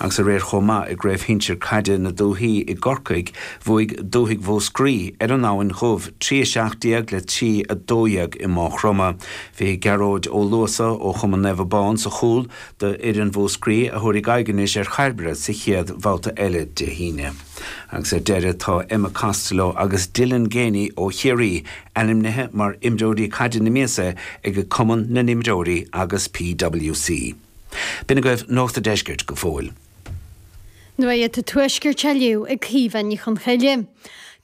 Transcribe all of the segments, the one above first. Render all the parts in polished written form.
Agus aréir chomh maith i gCraobh Shinsir Caide na Dúthaí i gCorcaigh, bhuaigh Dúthaigh Mhúscraí ar an Abhainn Dhubh, 3 17 le 3 12 i Máigh Chromtha. Bhí Gearóid Ó Luasa ó Chumann Naomh Abán sa chúl do fhoireann Mhúscraí a thabharfaidh aghaidh anois ar Chairbre sa chéad bhabhta eile Dé hAoine. Agus ar deireadh tá Emma Costello agus Dylan Geaney ó Chiarraí ainmnithe mar imreoirí caide na míosa ag Cumann na nImreoirí agus PWC. B'in agaibh Nuacht a' Deiscirt go fóill. Nuacht an Tuaiscirt á léamh ag Caoimhe Ní Chonchoille.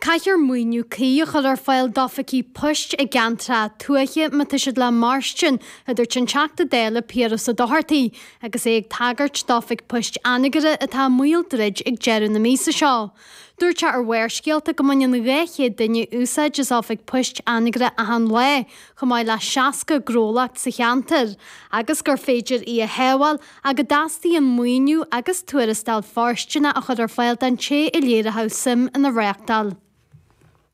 Caithfear maoiniú cuí a chur ar fáil d'oifigí poist i gceantracha tuaithe má tá siad le mairstin, a dúirt an Teachta Dála Piaras Ó Dochartaigh agus é ag tagairt d'oifig poist Anagaire atá i mbaol druid ag deireadh na míosa seo. Dúirt sé ar Bharrscéalta go mbaineann 200 duine úsáid as oifig poist Anagaire achan lá, chomh maith le 60 gnólacht sa cheantar, agus gur féidir í a shábháil ach go dteastaíonn maoiniú agus tuarastal fóirsteanach a chur ar fáil don té a léireodh suim ina reáchtáil.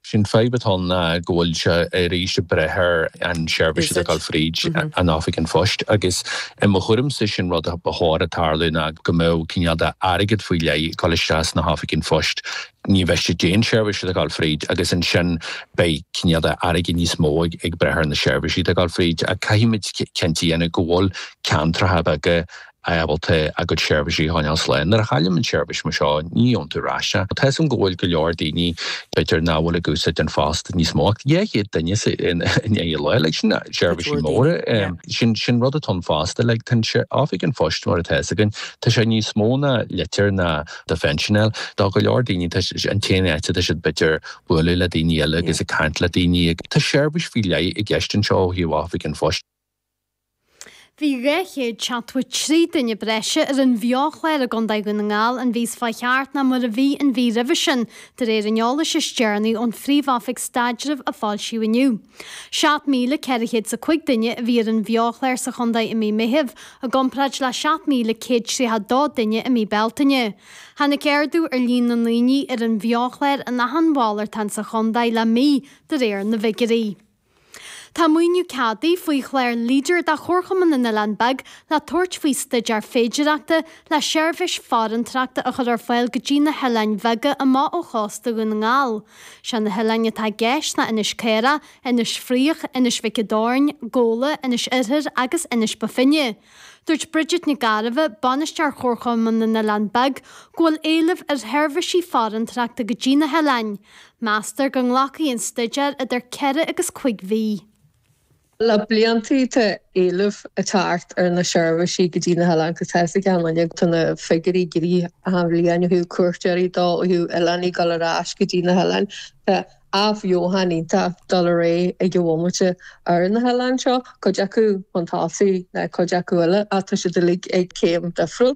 Sé'n fadhb atá ann ná go bhfuil sé arís ag breith ar an seirbhís atá ag dul fríd an Oifig an Phoist agus i mo thuairimse sin rud a ba chóir a tarlú ná go mbeadh cineál de airgead faoi leith ag dul isteach sna hOifigí an Phoist ní mhiste d'aon seirbhís atá ag dul fríd agus ansin beidh cineál de airgead níos mó ag breith ar na seirbhísí atá ag dul fríd ach caithfimid cinnte a dhéanamh go bhfuil ceantracha beaga ábalta a gcuid seirbhísí a choinneáil slán. Nuair a chailleann seirbhís mar seo, ní gheobhann tú ar ais é. Tá 'fhios agam go bhfuil go leor daoine, b'fhéidir, nach bhfuil ag úsáid an phost níos mó ach 200 duine in aghaidh an lae, like, sin seirbhísí móra. Sin, sin rud atá ann fosta, like, tá an oifig an phoist mar atá 'fhios againn, tá sé níos mó ná litir ná do phension fháil. Do go leor daoine, tá an t-aon áit atá siad b'fhéidir bualadh le daoine eile agus ag caint le daoine. Tá seirbhís faoi leith i gceist anseo ó thaobh Oifig an Phoist. Bhí 273 duine breise ar an bheo-chlár i gContae Dhún na nGall an mhí seo chuaigh thart ná mar a bhí an mhí roimhe sin, de réir an eolais is deireanaí ón Phríomh-Oifig Staidrimh a foilsíodh inniu. 7,405 duine a bhí ar an bheo-chlár sa chontae i mí Meithimh, i gcomparáid le 7,132 duine i mí Bealtaine. Tháinig ardú ar líon na ndaoine ar an bheo-chlár in achan mhalartán sa chontae le mí, de réir na bhfigiúirí. Tá maoiniú ceadaithe faoi chlár Leader do Chomharchumann na nOileán Beag le tabhairt faoi staidéar féidireachta le seirbhís farantóireachta a chur ar fáil go dtí na hoileáin bheaga amach ó chósta Dhún na nGall. Sé na hoileáin atá i gceist ná Inis Caorach, Inis Fraoich, Inis Mhic an Doirn, Gabhla, Inis Oirthir agus Inis Bó Finne. Dúirt Bridget Nic Gairbheith, Bainisteoir Chomharchumann na nOileán Beag, go bhfuil éileamh ar sheirbhísí farantóireachta go dtí na hoileáin. Meastar go nglacfaidh an staidéar idir 4 agus 5 mhí. Le bliantaí tá éileamh ag teacht ar na seirbhísí go dtí na hoileáin agus tá 'fhios ag achan duine tá na figiúirí ag éirí achan bhliain ó thaobh cuairteoirí dó, ó thaobh oileánaigh ag dul ar ais go dtí na hoileáin. Tá athbheochan iontach ag dul ar aghaidh ag an bhomaite ar na hoileáin seo, cuid acu chun tosaigh ná cuid acu eile ach tá siad uilig ag céim difriúil.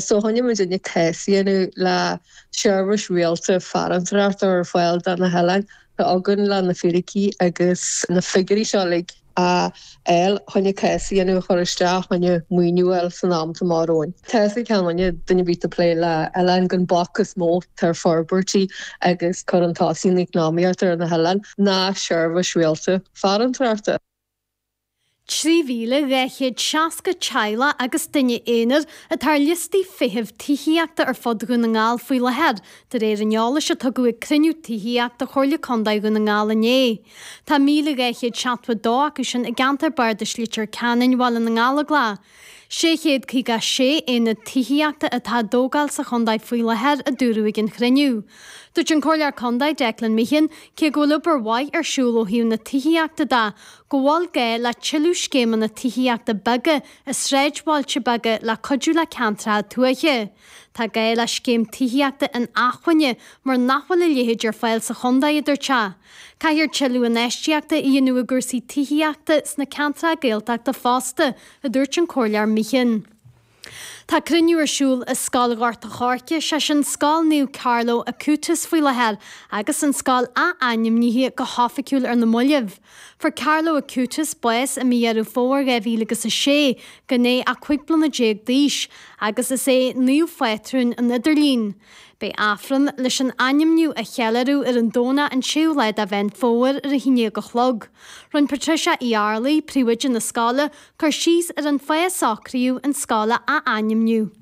So choinnigh muidinne cás a dhéanamh le seirbhís rialta farantóireachta ar fáil do na hoileáin. Tá againn le na fíricí agus na figiúirí seo uilig a fháil choinne cás a dhéanamh a chur isteach choinne maoiniú a fháil san am atá amach romhainn. Tá 'fhios ag achan duine, duine ar bith atá ag plé le oileáin gur an bac is mó atá ar forbairtí agus cur chun tosaigh na heacnamaíochta ar na hoileáin ná seirbhís rialta farantóireachta. 3,260 teaghlach agus duine aonair atá ar liostaí feithimh tithíochta ar fud Dhún na nGall faoi láthair, de réir an eolais a tugadh ag cruinniú tithíochta Chomhairle Contae Dhún na nGall inné. Tá 1,272 acu sin i gceantar Bardais Leitir Ceanainn, Bhaile na nGallóglach. 656 aonad tithíochta atá á dtógáil sa chontae faoi láthair, a dúradh ag an chruinniú. Dúirt an Comhairleoir Contae Declan Meehan, cé go bhfuil obair mhaith ar siúl ó thaobh na tithíochta de, go bhfuil gá le tuilleadh scéimeanna tithíochta beaga i sráidbhailte beaga le cuidiú le ceantracha tuaithe. Tá gá le scéim tithíochta inacmhainne mar nach bhfuil a leithéid ar fáil sa chontae, a dúirt sé. Caithfear tuilleadh infheistíochta a dhéanamh i gcúrsaí tithíochta sna ceantracha Gaeltachta fosta, a dúirt an Comhairleoir Meehan. Tá cruinniú ar siúl i Scoil Ghort a' Choirce, sé sin Scoil Naomh Carlo Acutis faoi láthair agus an scoil ath-ainmnithe go hoifigiúil ar na moillibh. Fuair Carlo Acutis bás i mí Dheireadh Fómhair 2006 gan é ach 15 bliana d'aois agus is é naomh-phátrún an idirlín. Beidh Aifreann leis an ainmniú a cheiliúradh ar an Domhnach an 6ú lá de Mheán Fómhair ar a 11 a chlog. Rinne Patricia Uí Fhearlaigh, príomhoide na scoile, cur síos ar an fáth a socraíodh an scoil a ath-ainmniú.